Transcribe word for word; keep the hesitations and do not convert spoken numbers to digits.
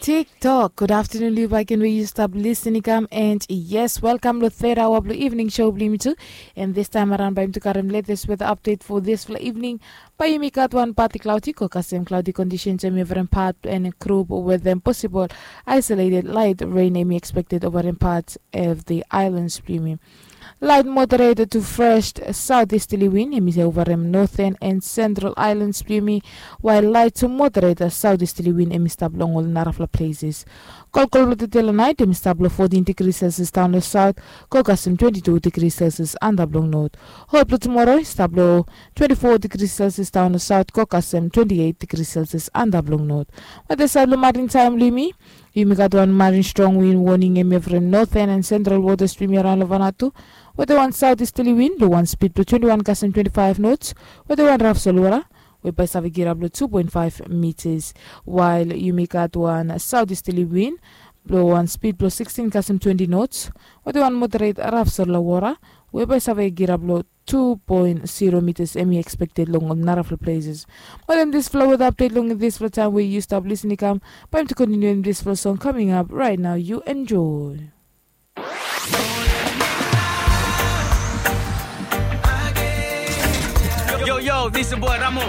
TikTok. Good afternoon, Liu Bakin, where you stop listening come. And yes, welcome to third hour blue evening show, Blue Me too. And this time around, by to Karim latest weather update for this for evening. By you, me got one party cloudy, kokasem cloudy conditions, and every part and group with them possible isolated light rain, and expected over in parts of the islands, Blue Me. Light moderate to fresh southeasterly wind, hemi se over em northern and central islands, Blue Me, while light to moderate southeasterly wind, hemi stap long ol narafla places. Kolkol lo tetela night, hemi stap lo fourteen degrees Celsius down lo south, kokasem twenty-two degrees Celsius anda blong north. Hot lo tomorrow, stap lo twenty-four degrees Celsius down lo south, kokasem twenty-eight degrees Celsius anda blong north. Wete side lo marin time, Blue Me, Yumi gat wan marin strong win warning hemi from northern and central waters, Blue Me, around lo Vanuatu. Wete wan southeasterly win lo wan speed blo twenty-one kasem twenty-five knots. Wete wan raf solwara we bae save girap lo two point five meters. While yumi gat wan southeasterly win lo wan speed blo sixteen kasem twenty knots. Wete wan moderate raf solwara we bae save girap lo two point zero meters hemi expected long ol narafla places. Mo dem disfala weather update long disfala time we yu stap listening kam. Bae mi to continue dem disfala song coming up right now. You enjoy. Yo, yo, this your boy Ramo.